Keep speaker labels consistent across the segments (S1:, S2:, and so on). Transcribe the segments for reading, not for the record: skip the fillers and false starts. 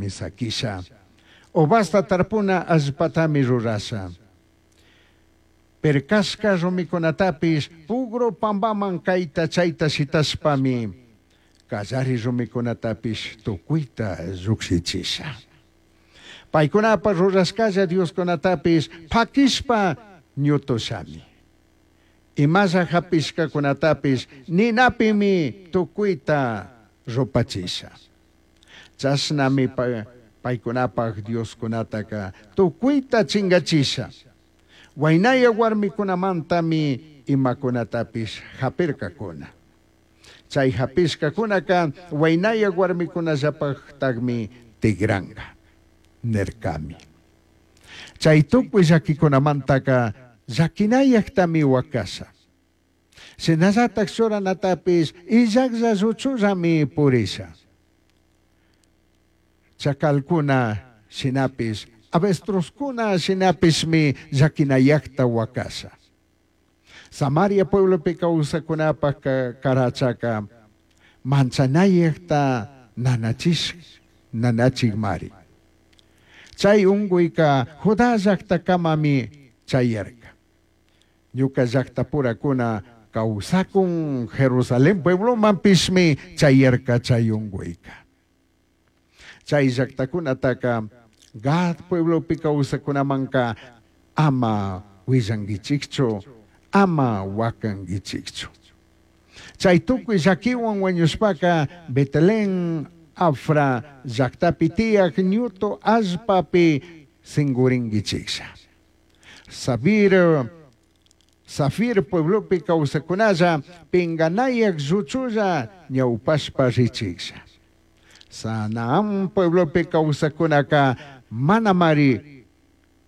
S1: Saquisha. Uvasta tarpuna allpatami rurasha. Pircashca rumicunatapish pugru pambaman caita chaita shitashpami callari rumicunatapish tucuita llujshichisha. Paicunapaj rurashcalla dioscunatapish paquishpa ñutushami. Imalla japishcacunatapish ninapimi tucuita rupachisha. Chashnami paicunapaj dioscunataca tucuita chingachisha. Huainaya huarmicunamantami imacunatapish japircacuna. Chai japishcacunaca huainaya huarmicunallapajtajmi tigranga, nircami. Chai tucui llaquicunamantaca llaquinayajtami huacasha. Shinallataj churanatapish illajlla lluchullami purisha. Chacalcuna shinapish, avestruzcuna shinapishmi llaquinayajta huacasha. Samaria pueblopi causacunapaj carachaca manchanayajta nanachish nanachijmari. Chai ungüica Judá llajtacamami chayarca. Ñuca llajtapuracuna causacun Jerusalén pueblomanpishmi chayarca chai ungüica. Chai llajtacunataca Gad pueblopi causacunamanca ama huillanguichijchu, ama huacanguichijchu. Chai tucui llaquihuan huañushpaca Betlén Afra llajtapi tiyaj ñutu allpapi singuringuichijlla. Sabir, Safir pueblopi causacunalla pinganayaj lluchulla ñaupashpa richijlla. Sanaán pueblopi causacunaca manamari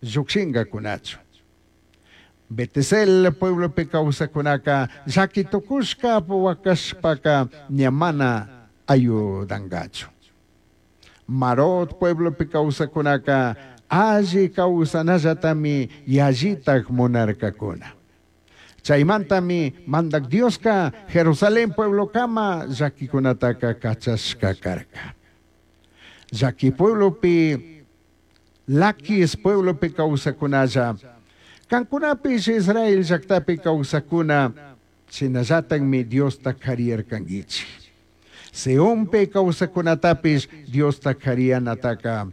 S1: llujshingacunachu. Betezel pueblopi causacunaca llaqui tucushca huacashpaca ña mana ayudangachu. Marot pueblopi causacunaca alli causanallatami yallitaj munarcacuna. Chaimantami Mandac Diosca Jerusalén pueblocama llaquicunataca cachashca carca. Llaqui pueblopi, Laquis pueblopi causacunalla, cancunapish Israel llactapi causacuna, shinallatajmi Diosta cariyarcanguichij. Sionpi causacunatapish Diosta cariyanataca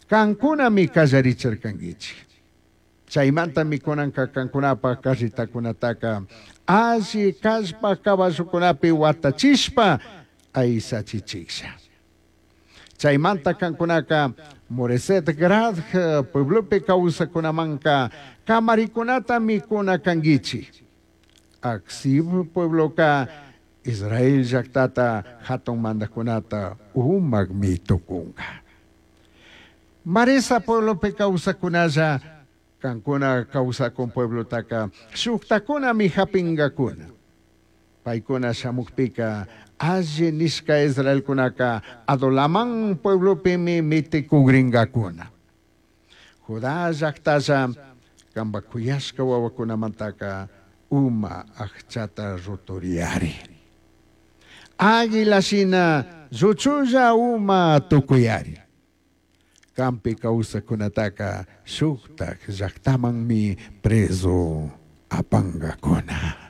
S1: cancunami callarichircanguichij. Chaimantami cunanca cancunapaj carretacunataca alli callpaj caballocunapi huatachishpa aisachichijlla. Chaimanta cancunaca Moreset Grad pueblopi causacunamanca camaricunatami cuna canguichij. Aczib puebloca Israel llajtata jatun mandajcunata umajmi tucunga. Maresa pueblopi causacunalla cancuna causacun pueblotaca shujtacunami japingacuna. Paicuna shamujpica alli nishca israelcunaca Adulamán pueblopimi miticugringacuna. Judá llajtalla cambaj cuyashca huahuacunamantaca uma ajchata ruturiyari. Águila shina lluchulla uma tucuyari. Canpi causacunataca shujtaj llajtamanmi prezu apangacuna.